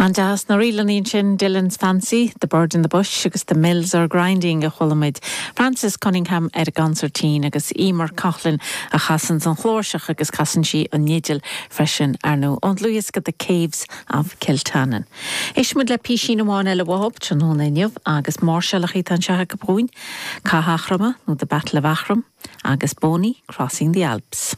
An-deas na ríleanna ansin, Dillon's Fancy, The Bird in the Bush agus The Mills Are Grinding a chuala muid. Frances Cunningham ar an gconsairtín agus Emer Coughlan a chasanns an chláirseach agus casann sí an fhidil freisin, ar ndóigh, ón dlúthdhiosca The Caves of Kiltannon. Éistfidh muid le písín amháin eile uathu tráthnóna inniu agus máirseálachaí atá anseo acu dhúinn, Cath Eachroma nó The Battle of Aughrim agus Boney Crossing the Alps.